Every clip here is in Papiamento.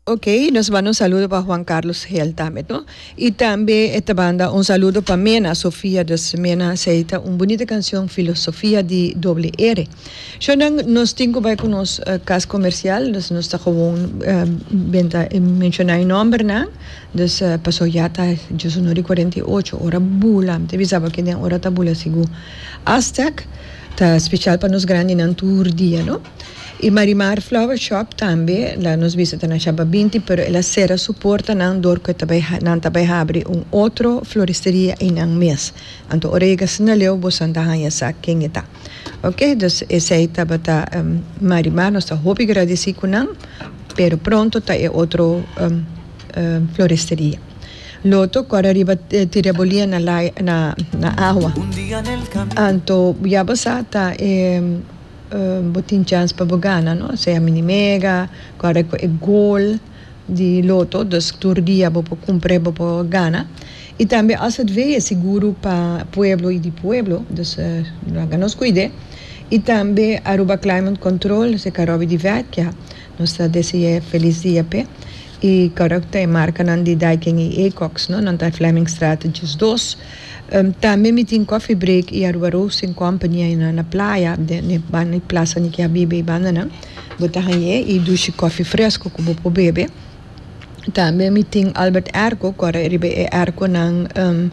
Ok, nos manda un saludo pa Juan Carlos Gel tambe, no? Y tambe e ta manda un saludo pa Mena Sofia, dus Mena esey ta un bunita cancion Filosofia di Doble R. Shownan, nos tin cu bay cu nos cas comercial, dus nos ta gewoon benta menciona e nombernan, dus paso ya ta djesunor y 48, ora bula, mi ta bisa bo aki den ora ta bula sigur. Aztec ta special pa nos grandinan tur dia, no? Y Marimar Flower Shop tambe, la nos bisa ta na Shaba 20, pero el a cera su portanan door cu e ta bay nan ta bay habri un otro floristeria eynan mes. Anto ora yega asina leu bosan ta haya sa ken e ta. Ok, dus esey tabata Marimar, nos ta hopi gradeci cu nan, pero pronto ta e otro floristeria. Loto kore riba tira bolia na na na awa. Anto ya bo sa ta e. Bo tin chans pa bo gana no, sea mini mega, kòrda ku e gol di loto, dus tur dia bo por kumpr'é bo por gana. I tambe azv e seguro pa pueblo i di pueblo, dus laga nos kuid'é. I tambe Aruba Climate Control, seka Robby di Vecchia, nos ta dese'é felis dia p'e. I kòrda ku ta e markanan di Daikin i Ecox no, nan ta Flemmingstraat 12. Tambe mi tin Coffee Break i Aruba Roasting Company ayina na playa, den e banda di Plaza Niki Habibe i bandanan. Bo ta hañ'é i dushi kofi fresco ku bo por bebe. Tambe mi tin Albert Airco, ku ora riba e airconan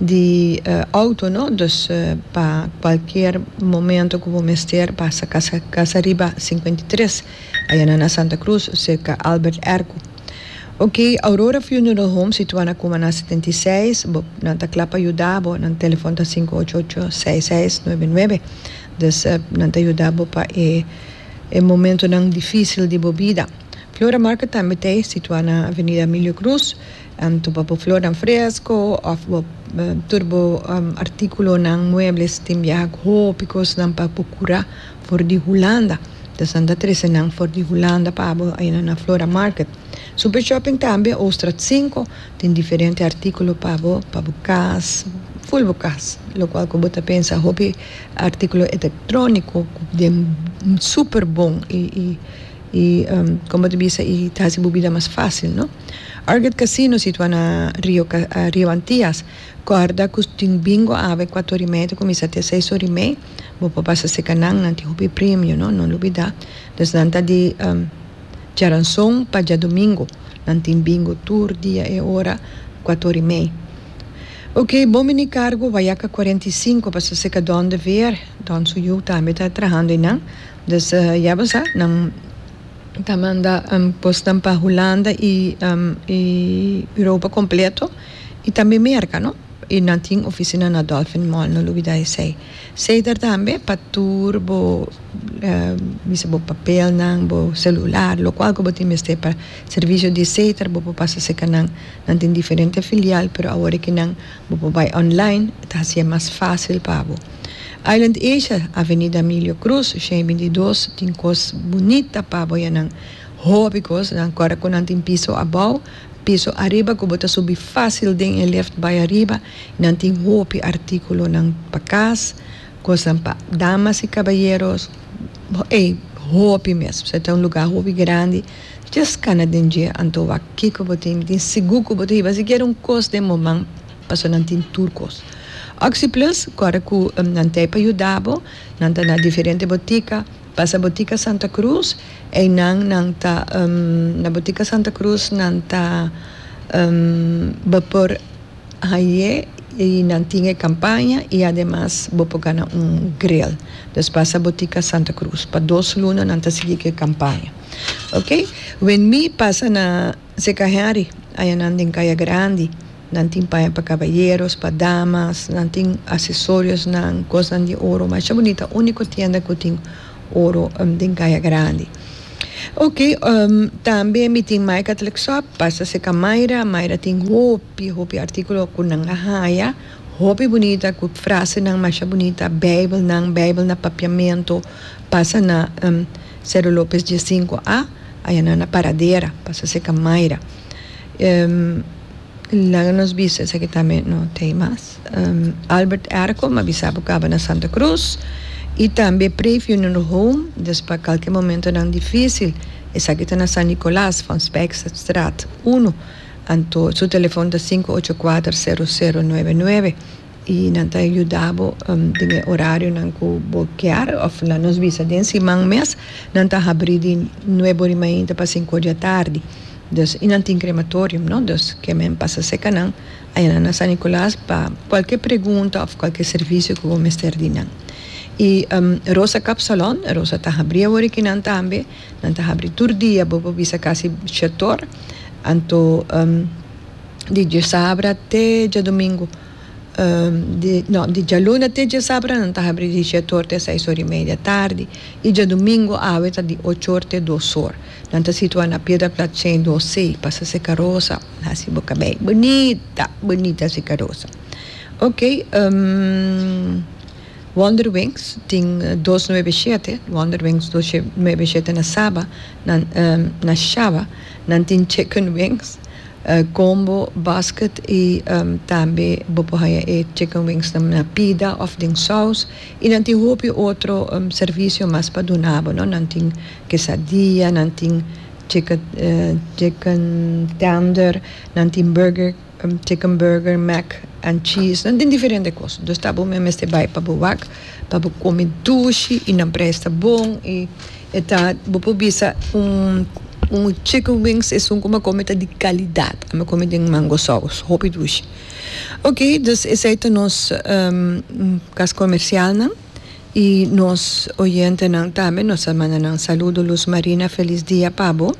di auto no, dus pa cualkier momento ku bo mester pasa casa casa riba 53 ayina na Santa Cruz cerca Albert Airco. Ok, Aurora Funeral Home situa na Cumaná 76, bo nan ta kla pa yuda bo, nan telefon ta sinku ocho ocho seis seis nuebe nuebe, dus nan ta yuda bo pa e e momentonan dificil di bo bida. Flora Market tambe ta situa na Avenida Emilio Cruz, anto pa bo flornan fresco of bo tur bo articulonan, muebles, tin biaha cu hopi cosnan pa bo cura for di Hulanda. Dus nan ta trese nan for di Hulanda pa abo ayina na Flora Market. Super Shopping tambe, Ooststraat sinku, tin diferente artíkulo pa bo, pa bo kas, ful bo kas. Lokual ku bo ta pensa hopi artíkulo elektróniko ku den super bon i i i komo ta bisa i ta hasi bo bida mas fásil no. Arget Casino situá na Rio Rio Antillas, kòrda ku tin bingo awe kuater ora i mei ta kuminsá te seis ora i mei. Bo por pasa seka nan, nan tin hopi premio no, no lubida. Dus nan ta di djaranson pa djadumingu, nan tin bingo tur dia e ora kuator i mei. Ok, bon bini kargo Wayaca 45 pasa seka Don de Veer, Don su yu tambe ta trahando einan. Dus ya bo sa, nan ta manda kosnan pa Hulanda i i Europa kompleto i tambe Merka no. I nan tin oficina na Dolphin Mall, no lubida esey. Ceder tambe pa tur bo bisa bo papelnan, bo celular, locual cu bo tin mester pa servicio di Ceder bo por pasa cerca nan. Nan tin diferente filial pero awor aki nan bo por bay online, ta haci'e mas facil pa bo. Island Asia, Avenida Emilio Cruz, shen 22, tin cos bunita pa bo yanan. Hopi cos, nan corda cu nan tin piso abao. Piso ariba ku bo ta subi fásil den e lift bai ariba. Nan tin hopi artíkulonan pa kas, kosnan pa damas i kabayeros. Ey, hopi mes. Pasobra ta un lugá hopi grandi. Djes kana den dje anto wak kiko bo tin. Mi tin sigur ku bo ta hiba sikiera un kos den bo man pasobra nan tin tur kos. Oxi Plus kòrda ku nan ta ei pa yuda bo. Nan ta na diferente botika. Pasa Botica Santa Cruz, einan nan ta na Botica Santa Cruz nan ta bo por haye y nan tin e campaña y ademas bo por gana un grill. Dus pasa Botica Santa Cruz pa dos luna nan ta sigui cu e campaña. Ok, wen mi pasa na Seca Henry ayanan den Caya Grandi. Nan tin paña pa caballeros, pa damas, nan tin acesoriosnan, cosnan di oro masha bunita, unico tienda cu tin oro den Caya Grandi. Ok, tambe mi tin Mai Catholic Shop, pasa cerca Mayra, Mayra tin hopi, hopi articulo cu nan a haya, hopi bunita, cu frasenan masha bunita, bijbelnan, bijbel na papiamento, pasa na Cerro Lopez diescinco A, aya nan na Paradera, pasa cerca Mayra. Laga nos bisa esaki tambe no ta ei mas. Albert Erco m'a bisa bo caba na Santa Cruz y tambe Pre Funeral Home, des pa calke momentonan dificil. Esaki ta na San Nicolas, Van Spijkstraat uno. Anto su telefon ta sinku ocho kuater sero sero nuebe nuebe i nan ta yuda bo den e orarionan ku bo kier òf laga nos bisa den siman mes nan ta habri di nuebe ora i mainta pa sinku ora di atardi. Dus i nan tin krematorium no, dus ke men pasa seka nan ayanan na San Nicolas pa kualke pregunta òf kualke servisio ku bo mester di nan. I Rosa Kapsalon, Rosa ta habri awor aki nan tambe. Nan ta habri tur dia, bo por bisa kasi shetor, anto di djasabra te djadumingu, di no di djaluna te djasabra nan ta habri di shetor te seis or i media tardi i djadumingu awe ta di ocho or te dos or. Nan ta situa na Piedra Plat shen dos C, pasa seka rosa, hasi bo kabei bunita, bunita seka rosa. Ok. Wonder Wings tin dos nuebe shete, Wonder Wings dos nuebe shete na Saba, nan na Shaba, nan tin chicken wings, combo basket y tambe bo por haya e chicken wings nan na pida of den saus y nan tin hopi otro servicio mas pa duna bo, no, nan tin quesadilla, nan tin chicken chicken tender, nan tin burger. Chicken burger, mac and cheese, nan tin diferente kos. Dus ta bo mester bai pa bo wak, pa bo kome dushi i nan prijs ta bon i e ta bo por bisa un un chicken wings esun ku mi a kome ta di kalidat. Mi a kome den mango saus, hopi dushi. Oke, dus esei ta nos kas komersialnan i nos oyentenan tambe nos a manda nan saludo. Luz Marina felis dia pa bo.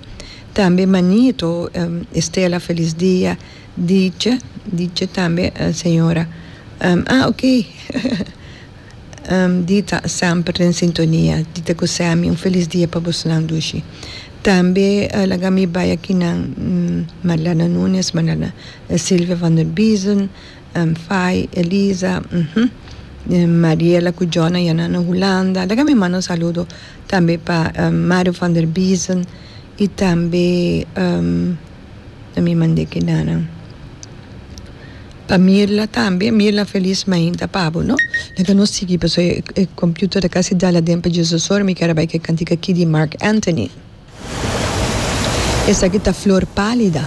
Tambe Manito, Estela felis dia, Diche, Diche tambe señora, ah ok Dita semper den sintonia, Dita cu Sammy un felis dia pa bosonan dushi. Tambe laga mi bay akinan Marlena Nunes, Marlena Silvia van der Biezen, Fai, Elisa, Mariela cu John a yana na Hulanda, laga mi manda un saludo tambe pa Mario van der Biezen. I tambe na mi mand'é kidanan pa Mirla tambe. Mirla felis mainta pa bo no. Laga nos sigui pasobra e computer ta kasi dal aden pa Jesus ora mi kier a bai ku e kantika aki di Marc Anthony. Esaki ta Flor Pálida.